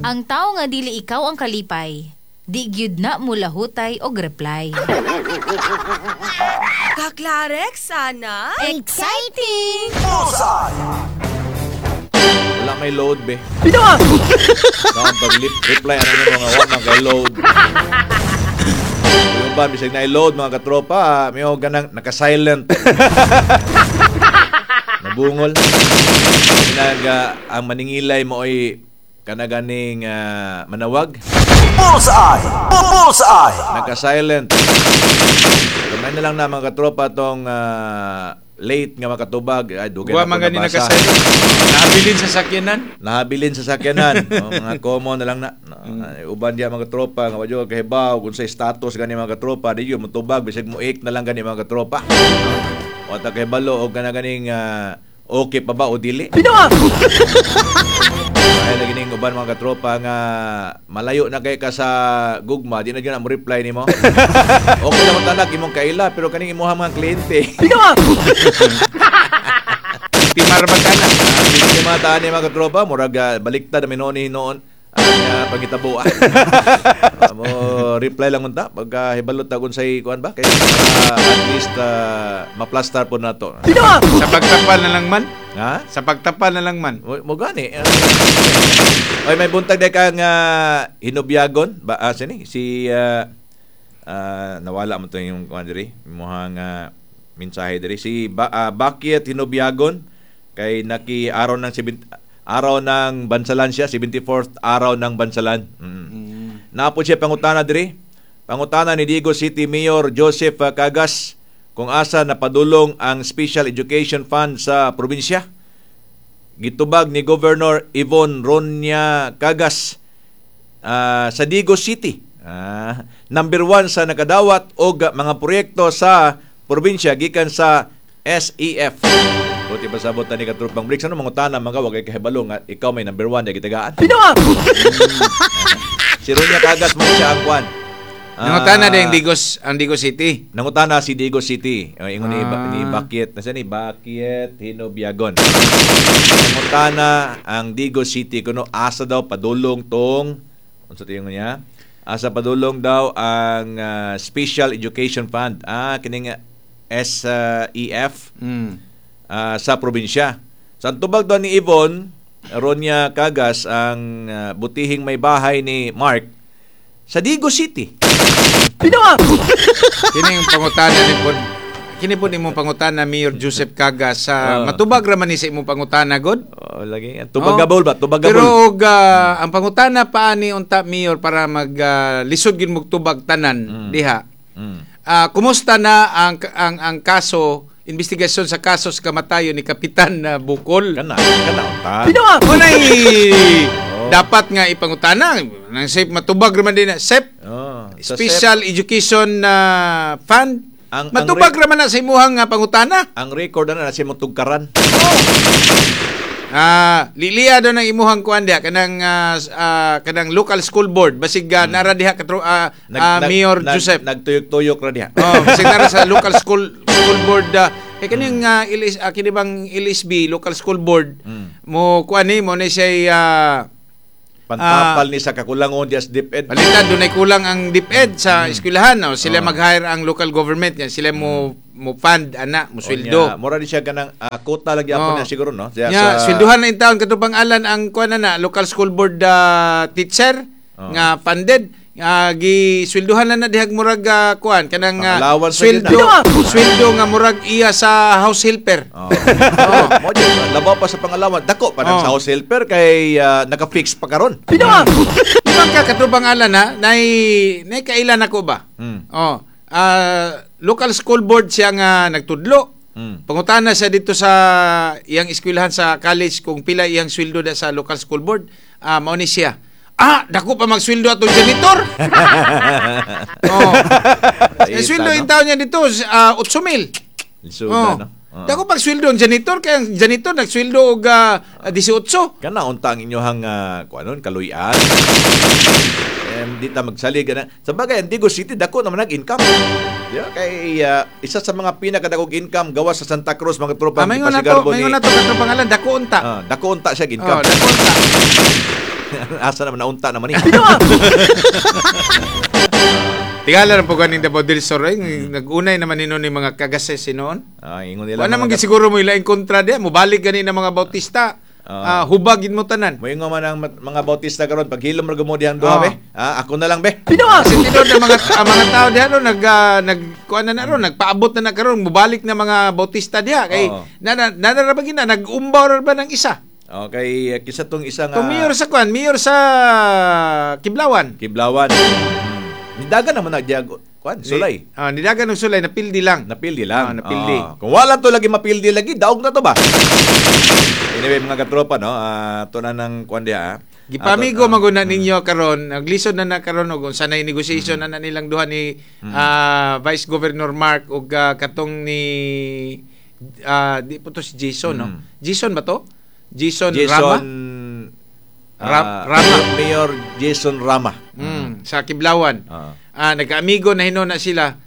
Ang tao nga dili ikaw ang kalipay, di gyud na mulahutay og reply. Kaklarex sana? Exciting! Wala may load be. Pag reply ano nyo mga wa man kay load. Yung ba bisag na load, mga katropa, may ganang naka-silent. Nabungol. Kinaga ang maningilay mo ay kanaganing manawag. Bullseye! Bullseye! Naka-silent. Kamay na lang na, mga katropa, tong late nga makatubag. Ay, dugay Wa na man ko gani nabasa. nakasilent. Nabilin sa sakyanan. Nahabilin sa sakyanan. O, mga common na lang na. No, ay, uban diya, mga katropa nga wadyo kahibaw kung sa status gani, mga katropa, di yun motubag bisag mo ik na lang gani, mga katropa. O ta kahibalo og kana ganing okay pa ba o dili. Ay lagi ning uban, mga katropa, nga malayo na kay ka sa gugma, di na gyud na mo reply nimo. Okay lang talag imong kaila pero kaning imuha mga kliyente. Timar ba ka na? Hindi mga taan ni mga katropa, murag baliktad na noon noon ang pangitabo. Mo reply lang unta pagka hibalot ta kung say kuan ba kay at least maplastar po nato. Sa pagtapal na lang man. Ha? Sa pagtapal na lang man. Mo gani. Oy, may buntag day kang hinubyagon ba sini si nawala mo to yung kuan diri, imuhang mensahe diri si Bakit Hinubyagon kay naki araw ng 70, araw ng Bansalan siya, 74th araw ng Bansalan. Napo siya pangutana diri. Pangutana ni Digos City Mayor Joseph Cagas kung asa napadulong ang Special Education Fund sa probinsya. Gitubag ni Governor Yvonne Ronia Cagas sa Digos City. Number 1 sa nakadawat og mga proyekto sa probinsya gikan sa SEF. Buti pa sabot ni katropang Bricks. Ano mangutana mga wagay kahibalo nga ikaw may number 1 di gitagaan? Si Ronia Cagas man siya ang kwan. Nangutana din ang Digos City. Nangutana si Digos City. Ingon ni, ni Bakit, nasa ni Bakit Hinobyagon. Nangutana ang Digos City kuno asa daw padulong tong unsa to yung niya? Asa padulong daw ang Special Education Fund. Kining SEF sa probinsya. Sa tubag daw ni Yvonne Ronia Cagas ang butihing may bahay ni Mark sa Digos City. Kini yung pangutana ni pod. Kini pod imong pangutana, Mayor Joseph Cagas, sa matubag ra man ni sa imong pangutana god. Oh, lagi. Tubagabol ba? Tubagabol. Pero og ang pangutana pa ani unta, Mayor, para mag lisod gid mo tubag tanan diha. Kumusta na ang kaso, investigasyon sa kaso sa kamatayon ni Kapitan na Bukol? Kana, kana unta. Unay dapat nga ipangutana nang safe matubag ra man din na SEP, Oh, sa Special Education Fund. Ang Matubag ra man na sa imuhang pangutana. SEP, ang record na na si motugkaran. Lilia do ng imuhang kuan diha kanang kanang local school board basig nara diha katro Mayor Joseph. Nagtuyok-tuyok ra diha. Oh, basig nara sa local school school board kay kaning LS, kini bang LSB, local school board, mo kuan ni mo ni siya Pantapal ni sa kakulangon diya sa DepEd. Palitan dunay kulang ang DepEd sa eskwelahan, no? Sila mag-hire ang local government yan, sila mo mo fund ana, mo sweldo. Onya, mura di siya kanang quota lang gyapon niya siguro, no? Siya Nya, swelduhan na in taon katong alan ang kuan na na local school board teacher nga funded, giswelduhan na na dihag murag kuan kanang Pang-allowance na yun. sweldo sweldo nga murag iya sa house helper. Oh. Mo jud, labaw pa sa pangalawan. Dako pa nang sa house helper kay naka-fix pa karon. Di ba ka katubang alan ha, nay nay kailan ako ba? Oh, local school board siya nga nagtudlo. Pangutana siya dito sa iyang eskwelahan sa college kung pila iyang sweldo da sa local school board. Mao ni siya. Dako pa magsweldo atong janitor. Oh. Ay, Eh, sweldo no? in taon niya dito 8,000. Lisuda, Oh. no? Oo. Dako pag sweldo ang janitor kay ang janitor nagsweldo og 18. Kana unta ang inyohang kuanon kaluy-an. Di ta magsalig ana. Sa bagay, ang Digos City dako naman nag income. Di ba? Kay isa sa mga pinakadakong income gawas sa Santa Cruz, mga tropa. Maingon na to, gipasigarbo maingon na to katong pangalan, dako unta. Dako unta siya Oh, income. dako unta. Asa naman naunta naman ni. Tingala ra po ganing Davao del Sur eh. Nag-unay naman ni ni mga kagases noon. Ah, ingon nila. Wala naman siguro mo ilaing kontra diha, mobalik gani na mga Bautista. Hubagin mo tanan. Moingon man ang mga Bautista karon paghilom ra mo dihang duha be. Ah, ako na lang be. Kasi tinuod na mga ang mga tao diha no nag nag kuan na ron, nagpaabot na na karon, mobalik na mga Bautista diha kay na na ra ba gina nag-umbaw ra ba ng isa. Okay, kisa tong isa nga Tong mayor sa kuan, mayor sa Kiblawan. Kiblawan. Nidagan naman na diag kuan sulay. Nidagan og sulay, napildi lang. Napildi lang. Napildi. Kung wala to lagi mapildi lagi, daog na to ba? Anyway, mga katropa, no, to na ng kuan diha. Gipamigo man na ninyo karon, naglisod na na karon og unsa na negotiation na nilang duha ni Vice Governor Mark og katong ni di po to si Jason, no. Jason ba to? Jason Rama? Rama. Mayor Jason Rama. Sa Kiblawan. Nagkaamigo na hinon na sila.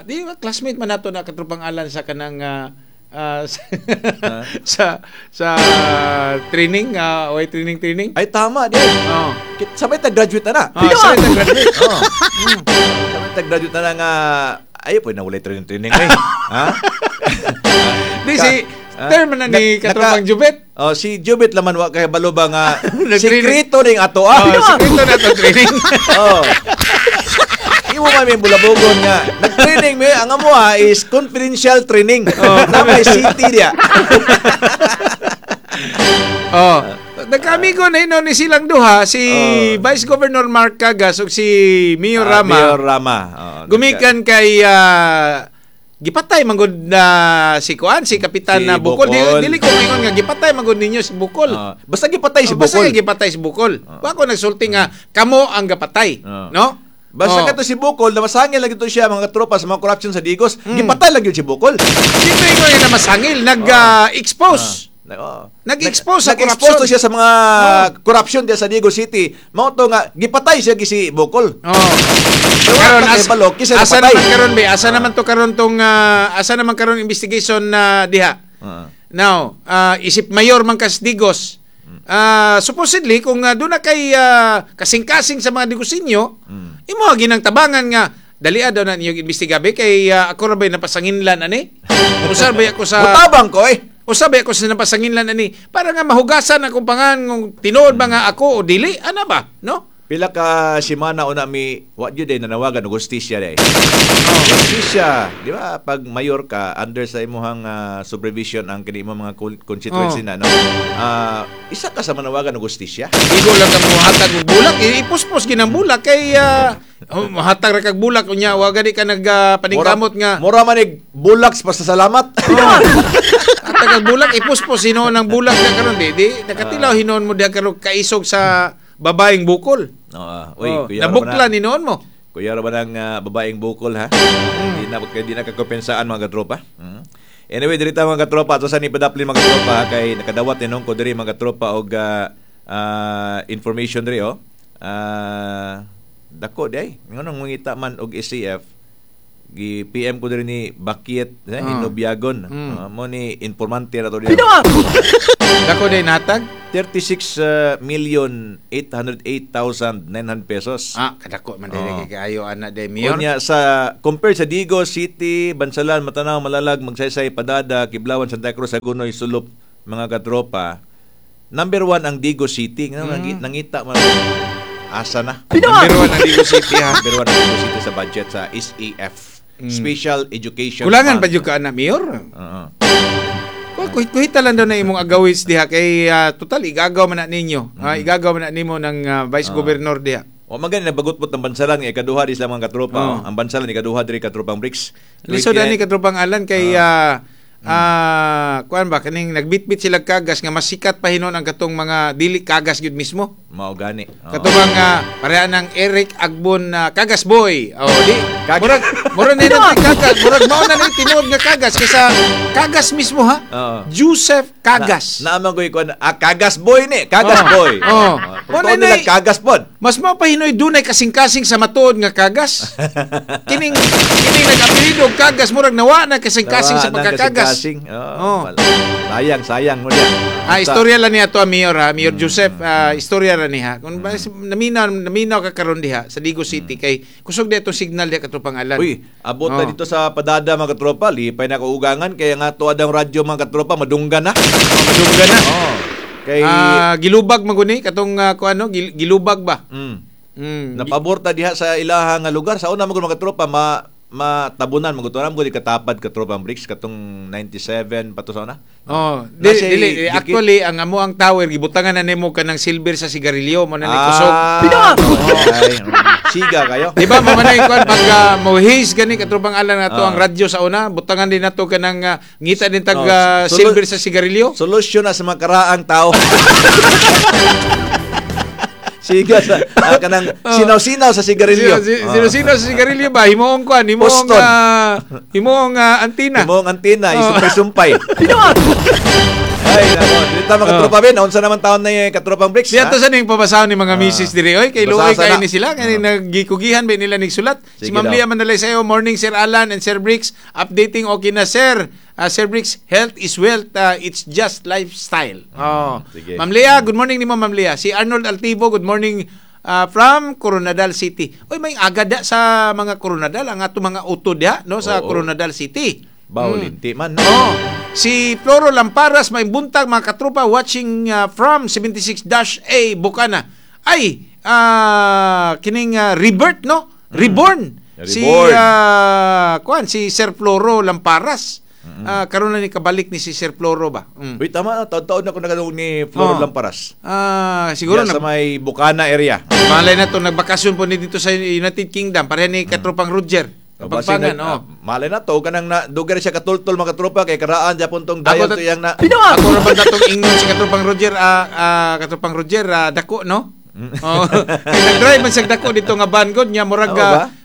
Di ba classmate man nato na katropang Alan sa kanang sa sa training, oy training. Ay tama di. Oh. Sabay ta graduate na na. Sabay ta graduate. Sabay ta graduate na nga ayo po na walay training ay. Ha? Di si term na ni katropang Jubet. Oh, si Jubet laman wa kay balo ba nga sekreto ning ato ah. Sekreto na to training. Oh. Imo man may bulabogon nga. Nag-training mi ang amo is confidential training. Na may city dia. Oh. Nagkaamigo na hinon ni silang duha si Vice Governor Mark Cagas ug si Mayor Rama. Mayor Rama. Gumikan kay gipatay manggod na si kuan si Kapitan si na Bukol. Bukol. Dili ko maingon nga gipatay manggod ninyo si Bukol. Basta gipatay si Bukol. Basta gipatay si Bukol. Wa ko nagsulti nga kamo ang gapatay, no? Basta kato si Bukol, namasangil lagi to siya mga tropa sa mga corruption sa Digos. Gipatay lagi si Bukol. Dito ingon nga namasangil, nag-expose. Nag-expose sa nag-expose corruption. to siya sa mga corruption diya sa Digos City. Mao to nga gipatay siya gi si Bukol. Karon asa naman karon be? Asa naman to karon tong asa naman karon investigation na diha? Now, isip mayor man kas Digos. Supposedly kung doon na kay kasing-kasing sa mga Digosinyo, imo ginang tabangan nga dalia daw na ninyo imbestigabe kay ako ra bay napasanginlan ani. Usar bay ako sa Mutabang ko eh. Usa bay ako sa napasanginlan ani para nga mahugasan akong pangan kung tinuod ba nga ako o dili ana ba, no? Pila ka semana una mi wa jud ay nanawagan og hustisya day. Hustisya, di ba? Pag mayor ka under sa imuhang supervision ang kini imong mga constituency na no. Isa ka sa manawagan og hustisya. Igo lang ka mohatag og bulak, ipuspos ginang bulak kay mohatag ra kag bulak unya wa gani ka nagpaningkamot nga. Mura man ig bulak sa pasasalamat. Hatag og bulak ipuspos hinuon ang bulak na karon di nakatilaw hinuon mo diha karon kaisog sa babaeng bukol. Uy, kuya nabukla ni noon mo. Kuya ra ba ng babaeng bukol ha? Di na kakompensaan mga katropa. Anyway, diri ta mga katropa ato sa ni padaplin mga katropa ha, kay nakadawat ni nung ko diri mga katropa og information diri oh. Dako di ay. Nganong mangita man og SCF gi PM ko diri ni Bakiet Hinobiagon. Mo ni informante ra to diri. Dako day natag 36,808,900 pesos. Kadako man diri kay kaayo ana day mayor. Unya sa compare sa Digos City, Bansalan, Matanao, Malalag, Magsaysay, Padada, Kiblawan, Santa Cruz, Hagonoy, Sulop, mga katropa. Number 1 ang Digos City. Nangita man asa na. Number 1 ang Digos City ha. Number 1 ang Digos City sa budget sa SAF. Special Education Kulangan pa jud ka ana mayor. Kuhit-kuhita lang daw na imong agawis diha kay total igagaw man na ninyo. Igagaw man na nimo ng Vice Governor diha. O magani nabagutbot ng Bansalan nga ikaduha di sila mga katropa. Ang Bansalan ikaduha diri katropang Bricks. Lisod ani katropang Alan kay kuan ba kaning nagbitbit sila kagas nga mas sikat pa hinon ang katong mga dili kagas gyud mismo. Mao gani. Katong pareha ng Eric Agbon Kagas Boy. Oh di murag murag na kagas, murag mao na ni tinuod nga kagas kaysa kagas mismo ha. Joseph Kagas. Naamang ko kuan Kagas Boy ni, Kagas Boy. Kung nila kagas pod. Mas mapahinoy dunay kasing-kasing sa matuod nga kagas. Kining nag-apelyido og kagas murag nawa na kasing-kasing sa pagkakagas. Kasing. Oh. Sayang, sayang mo diyan. Istorya lang niya to, Mayor ha, Mayor Joseph, istorya ra niya. Kung naminaw ka karon diha sa Digos City kay kusog di itong signal diha katropang Alan. Uy, abot na dito sa Padada mga katropa, lipay na kaugangan kaya nga tuad ang radyo mga katropa, madunggan na. Madunggan na. Oh. Kay gilubag maguni katong kuano gilubag ba? Napabor ta diha sa ilaha nga lugar sa una magud mga katropa matabunan maguturan mo di katapad katropa ang bricks katong 97 pa to sa una. Oh, dili actually ang amo ang tower gibutangan na nimo kanang silver sa sigarilyo mo na ni kusog. Siga kayo. Di ba mamanay kuan pag mo haze gani katropang Alan nato ang radyo sa una butangan din nato kanang ngita din tag silver sa sigarilyo. Solusyon na sa mga karaang tao. Siga sa kanang sinaw-sinaw sa sigarilyo. Sinaw-sinaw sa sigarilyo ba? Himuong kuan, himuong antina. Himuong antina, isumpay-sumpay. Ay, nako. Dito mga katropa ben, unsa naman taon na yung katropang bricks? Diya to sa ning pabasahon ni mga misis diri. Oy, kay luoy kay ni sila kay nagikugihan ba nila nigsulat. Si Ma'am Lia Manalay sayo, morning Sir Alan and Sir Bricks, updating okay na sir. Sir Bricks, health is wealth, it's just lifestyle. Oh. Ma'am Lea, good morning nimo Ma'am Lea. Si Arnold Altivo, good morning from Coronadal City. Oy, may agada sa mga Coronadal ang ato mga auto diha no sa Coronadal City. Bawlinti man. No? Oh. Si Floro Lamparas, may buntag mga katropa watching from 76-A Bukana. Ay, kining rebirth no? Reborn. Si kuan si Sir Floro Lamparas. Karon na ni kabalik ni si Sir Floro ba? Uy, tama, taon-taon na ko nagadungog ni Floro Lamparas. Siguro na sa may Bukana area. Malay na to nagbakasyon po ni dito sa United Kingdom pareha ni katropang Roger. Pagpangan, malay na to kanang na dugar siya katultol mga katropa kay karaan japon tong dayon to yang na. Ako ra ba datong ingnon si katropang Roger katropang Roger dako no? Oh, kay nag-drive man siya dako dito nga van god nya murag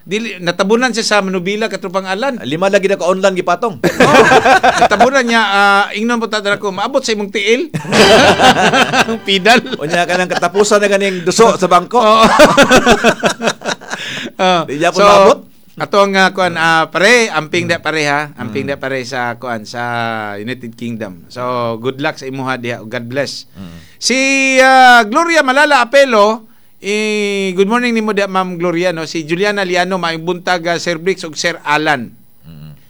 dili natabunan siya sa Manubila katropang Alan. Lima lagi na ka online gipatong. Natabunan niya ingnon po ta ko maabot sa imong tiil. Pidal. Unya kanang katapusan na ganing duso sa bangko. Di japon maabot. Ato ang kuan pare amping da pare ha, amping da pare sa kuan sa United Kingdom. So good luck sa imuha diha, God bless. Si Gloria Malala Apelo, good morning nimo diha Ma'am Gloria no. Si Juliana Liano maayong buntag Sir Bricks ug Sir Alan.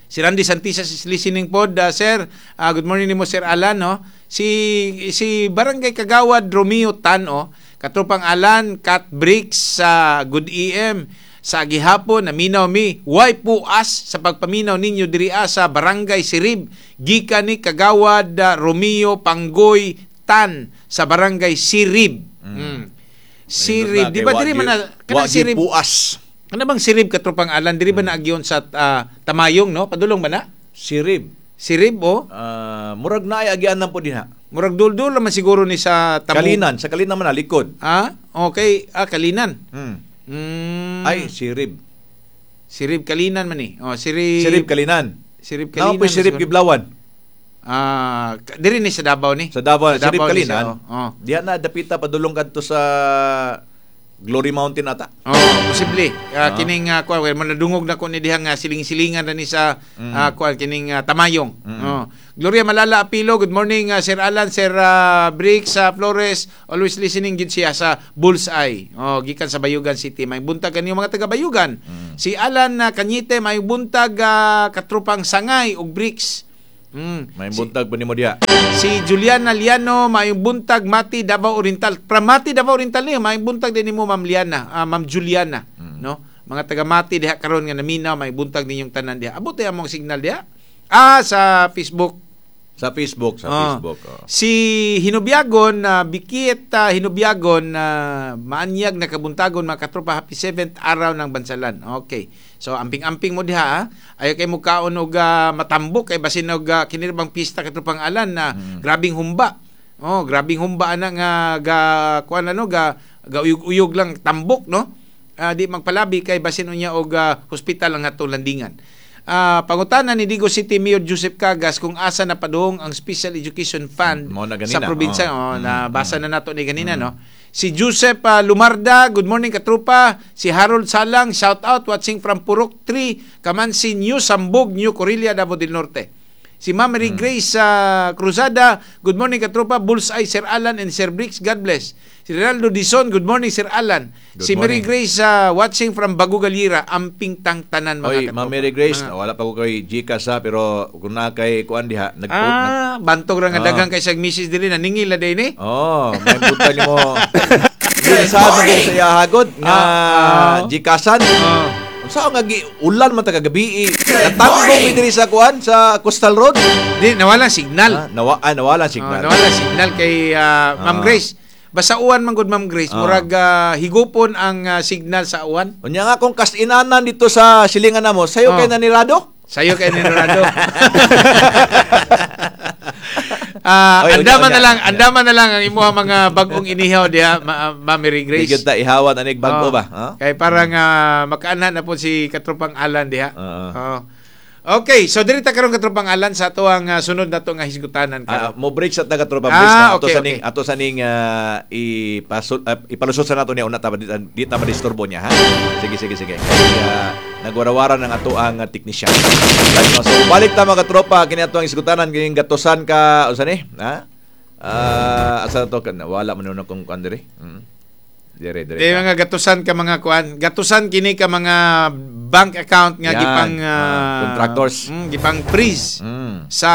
Si Randy Santisas is listening pod sir. Good morning nimo Sir Alan no. Si Barangay Kagawad Romeo Tan oh, katropang Alan Cat Bricks sa Good EM. Sa gihapon naminaw mi way puas sa pagpaminaw ninyo diri sa Barangay Sirib gikan ni Kagawad Romeo Panggoy Tan sa Barangay Sirib. Sirib di ba diri man kanang Sirib puas. Kana bang Sirib katropang Alan diri ba naagyon sa Tamayong no padulong ba na? Sirib. Sirib oh. Murag naay agian nang po dinha. Murag duldul man siguro ni sa Kalinan, sa Kalinan man likod. Okay, Kalinan. Ay, Sirib. Sirib Kalinan man ni. Oh, Sirib. Sirib Kalinan. Sirib Kalinan. Nao po Sirib Kiblawan. Diri ni sa Davao ni. Sa Davao, Sirib Kalinan. Oh. Diha na dapita padulong kadto sa Glory Mountain ata. Oh, posible. Kining kuan well, manadungog na ko ni diha nga siling-silingan na ni sa kuan kining Tamayong. Oh. Gloria Malala Apilo, good morning Sir Alan, Sir Bricks Flores, always listening gid siya sa Bullseye. Oh, gikan sa Bayugan City. May buntag kanyo mga taga Bayugan. Si Alan Cañete, may buntag katrupang Sangay ug Bricks. May buntag pa nimo diha. Si Juliana Liano, may buntag Mati Davao Oriental. From Mati Davao Oriental niyo, may buntag din nimo Ma'am Liana, Ma'am Juliana, no? Mga taga Mati diha karon nga naminaw, may buntag ninyong tanan diha. Abot ay among signal diha. Sa Facebook. Sa Facebook, sa Facebook. Oh. Si Hinubiagon, Bikit Hinubiagon, maanyag na kabuntagon mga katropa, happy 7th araw ng Bansalan. Okay. So amping-amping mo diha ha. Ayaw kay mo kaon og matambok kay basin og kinirabang pista katropang Alan na grabing humba. Oh, grabing humba ana nga ga kuan ano ga uyog-uyog lang tambok no. Di magpalabi kay basin unya og hospital ang atong landingan. Pangutana ni Digos City Mayor Joseph Cagas kung asa na padung ang Special Education Fund Mao na ganina, sa probinsya. oh. Oh, nabasa na nato ni ganina, no? Si Joseph Lumarda, good morning, katropa. Si Harold Salang, shout out, watching from Purok 3, Kamansi New Sambog, New Corilla, Davao del Norte. Si Ma'am Mary Grace Cruzada, good morning, katropa, Bullseye Sir Alan and Sir Bricks, God bless. Si Ronaldo Dison, good morning, Sir Alan. Good Si Mary morning. Grace watching from Bago Galira, amping tang tanan mga Oy, katropa. Ma'am Mary Grace, wala pa ko kay Gcash ha, pero kung na kay kuan diha, nag Bantog ra nga daghang kay siyang misis diri, naningil na din eh. Oh, may buntag nimo. Sa man sa iyahagod nga Gcashan. Unsa nga gi ulan man ta kagabi. Natanggong mi diri sa kuan sa Coastal Road. Di nawala signal. Nawala signal. Oh, nawala signal kay Ma'am Grace. Basta uwan man gud, Ma'am Grace, murag higupon ang signal sa uwan. Unya nga kung kasinanan dito sa silingan namo, sayo kay nanirado? Sayo kay nanirado. Oy, unya, Andaman unya, na lang, unya. Andaman na lang ang imuha mga bagong inihaw diha, Ma'am Mary Di Grace. gyud ta ihawan anig bago Oh, ba? Ha? Kay parang makaanha na po si Katropang Alan diha. Oo. Oh. Okay, so diri ta karon, Katropang Alan, sa ato ang sunod nato nga hisgutanan karon. Mo break sa taga tropa break na ato sa ning ato sa ning ipalusot sa nato niya una ta di ta madisturbo niya ha. Sige, sige, sige. Kay nagwarawara ng ato ang technician. Right, no? So balik ta, mga tropa, kini ato ang isgutanan kining gatusan ka unsa ni? Ha? Asa na to wala man nun akong kuan diri. Dire dire. Di mga gatusan ka mga kuan, gatusan kini ka mga bank account nga Yan. gipang Contractors. Gipang freeze sa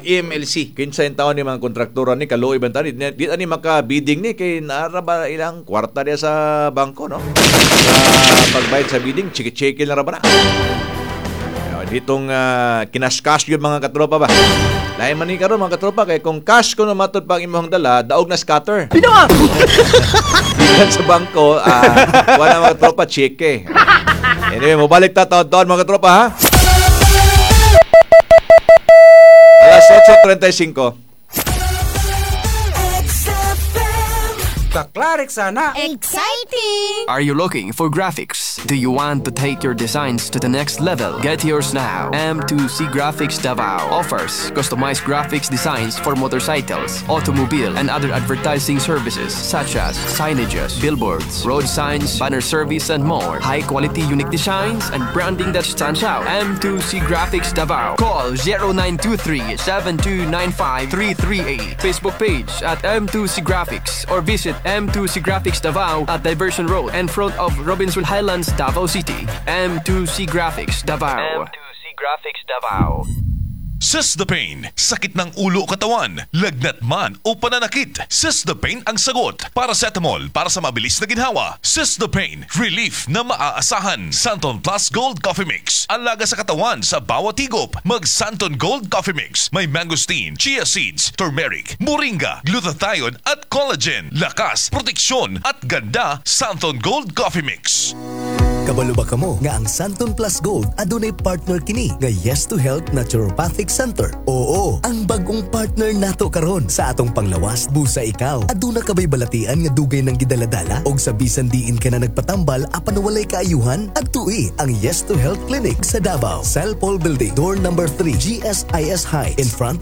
E EMLC. Kinsa yung taon ni mga kontraktora ni kaluoy ba tani di, di ani maka bidding ni kay naara ba ilang kwarta diya sa bangko, no, sa pagbayad sa bidding, chiki-chiki lang ra ba na. Ditong kinaskas yun, mga katropa ba. Lain man ni karon, mga katropa, kay kung cash kuno matud pa ang imong dala, daog na scatter. Pinoa. Gikan sa bangko, wala, mga katropa, cheke. Anyway, mobalik ta taon-taon, mga katropa, ha. Alas 8:35. Kaklarik sana. Exciting! Are you looking for graphics? Do you want to take your designs to the next level? Get yours now. M2C Graphics Davao offers customized graphics designs for motorcycles, automobile, and other advertising services such as signages, billboards, road signs, banner service, and more. High quality, unique designs and branding that stands out. M2C Graphics Davao. Call 0923 7295 338. Facebook page at M2C Graphics or visit M2C Graphics Davao at Diversion Road in front of Robinson Highlands, Davao City. M2C Graphics Davao. M2C Graphics Davao. Sis the Pain, sakit ng ulo o katawan, lagnat man o pananakit. Sis the Pain ang sagot. Paracetamol para sa mabilis na ginhawa. Sis the Pain, relief na maaasahan. Santon Plus Gold Coffee Mix, alaga sa katawan sa bawat higop. Mag Santon Gold Coffee Mix, may mangosteen, chia seeds, turmeric, moringa, glutathione at collagen. Lakas, proteksyon at ganda, Santon Gold Coffee Mix. Kabalo ba kamo nga ang Santon Plus Gold adunay partner kini nga Yes to Health Naturopathic Center? Oo, ang bagong partner nato karon sa atong panglawas. Busa ikaw, aduna ka bay balatian nga dugay nang gidaladala og sa bisan diin ka na nagpatambal apan walay kaayuhan? Adtui ang Yes to Health Clinic sa Davao, Cellpol Building, door number 3, GSIS High, in front